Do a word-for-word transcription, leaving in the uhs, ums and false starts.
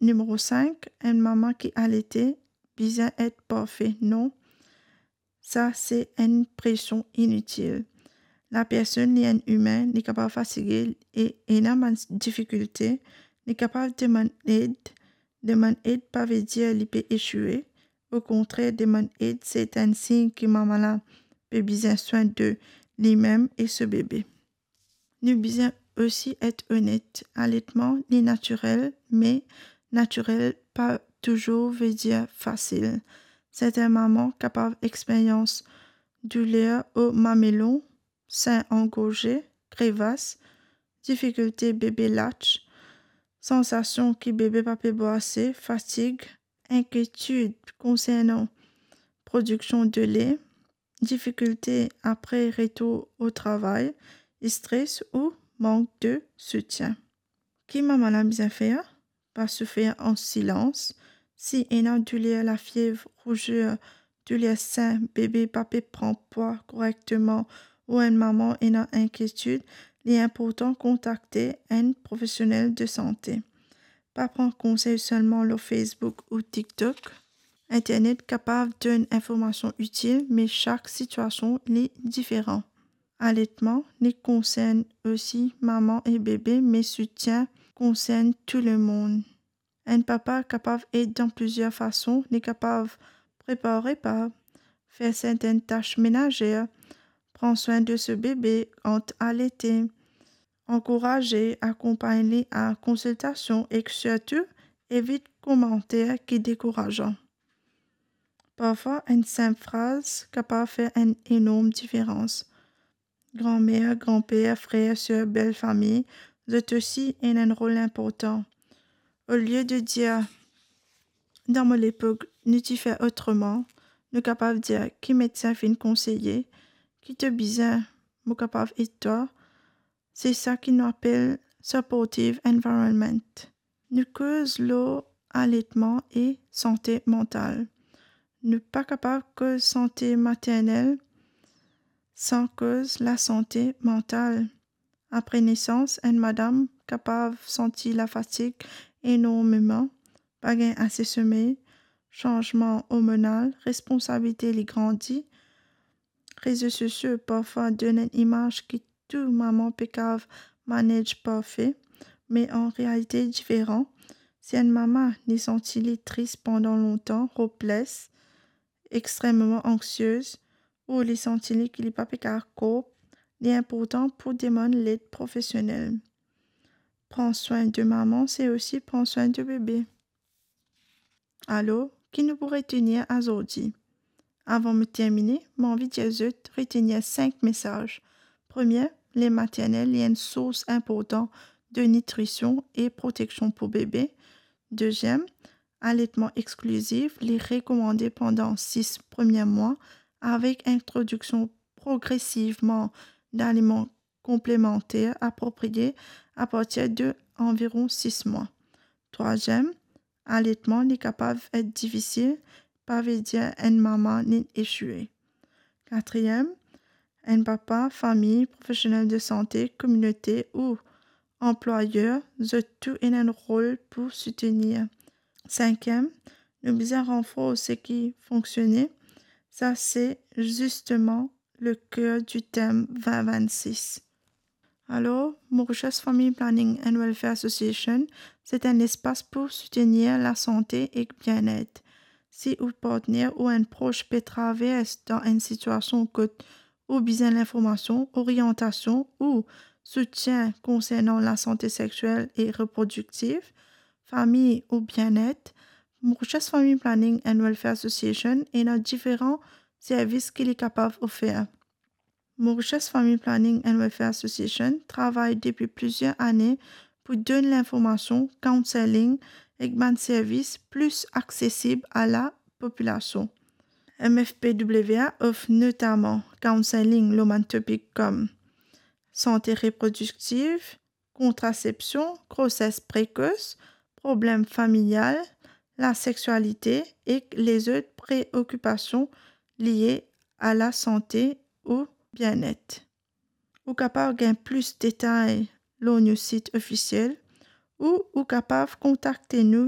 Nimero sink, enn mama ki alete bizin et parfe. Non, sa se enn presion initil. Lapersonn li enn imin, li kapav fatige e ena bann difikilte. Li kapav demann ed. Demann ed pa ve dir li pe esoue. Okontrer, demann ed se enn sign ki mama la pe bizin swin de limem e so bebe. Nou bizin osi et onet. Aletman li natirel, me natirel pa touzour ve dir fasil. Sertin mama kapav experyans douler o mamelon, sin angorze, krevas, difikilte bebe latch, sansasion ki bebe pa pe bwar ase, fatig, inkietid konsernan prodiksion dele, difikilte apre retour o travay, stres ou mank de soutien. Ki mama la bizin fer? Pa soufer an silans. Si ena douler, lafiev, rouzer, douler sin, bebe pa pe pran pwa korekteman ou enn mama ena inkietid, li inportan kontakte enn profesionel de sante. Pa pran konsey selman lor Facebook ou TikTok. Internet kapav donn informasion itil, me sak sitiasion li diferan. Aletman li konsern osi mama e bebe, me soutien konsern tou lemond. Enn papa kapav ed dan plizier fason. Li kapav prepar repa, fer sertin tas menazer, pran swin de so bebe ant alete, ankouraze, akonpagn li a konsiltasion ek sirtou evit komanter ki dekourazan. Parfwa enn sinp fraz kapav fer enn enorm diferans. Granmer, granper, frer, ser, belfami, zot osi ena enn rol inportan. Olie de dir, "Dan mo lepok nou ti fer otreman," nou kapav dir, "Ki medsin finn konseye? Ki to bizin? Mo kapav ed twa." Se sa ki nou apel supportive environment. Nou koz lor aletman e sante mantal. Nou pa kapav koz sante maternel san koz lasante mantal. Apre nesans, enn madam kapav santi lafatig enormeman, pa gagn ase somey, sanzman ormonal, responsabilite li grandi. Rezo sosio parfwa donn enn imaz ki tou mama pe kav manage parfe, me an realite diferan. Si enn mama li santi li tris pandan lontan, hopeless, extrememan anksiez, ou li santi li ki li pa pe kav cope, li inportan pou demann led profesionel. Pran swin de mama, se osi pran swin de bebe. Alor, ki nou pou retenir azordi? Avan mo termine, mo anvi dir zot retenir sink mesaz. Premie, le maternel li enn sours inportan de nitrision e proteksion pou bebe. Deziem, aletman exklizif, li rekomande pandan sis premie mwa, avek introdiksion progresivman daliman konplemanter apropriye apartir de anviron sis mwa. Trwaziem, aletman li kapav et difisil, pa ve dir enn mama li esoue. Katriem, enn papa, fami, profesionel de sante, kominote ou anplwayer, zot tou ena enn rol pou soutenir. Sinkiem, nou bizin ranfors seki fonksione. Sa se zisteman le ker di tem vin vinn-sis. Alor, Mauritius Family Planning and Welfare Association, se enn lespas pou soutenir lasante ek bienet. Si ou partner ou enn pros pe travers dan enn sitiasion kot ou bizin linformasion, oryantasion ou soutien konsernan lasante sexiel e reprodiktiv, fami ou bienet, Mauritius Family Planning and Welfare Association ena diferan servis ki li kapav ofer. Mauritius Family Planning and Welfare Association travay depi plizier ane pou donn linformasion, counselling ek bann servis plis aksesib a lapopilasion. M F P W A ofr notaman counselling lor bann topik kom sante reprodiktiv, kontrasepsion, groses prekos, problem familial, lasexualite ek lezot preokipasion lie a lasante ou bienet. Ou kapav gagn plis detay lor nou sit ofisiel ou ou kapav kontakte nou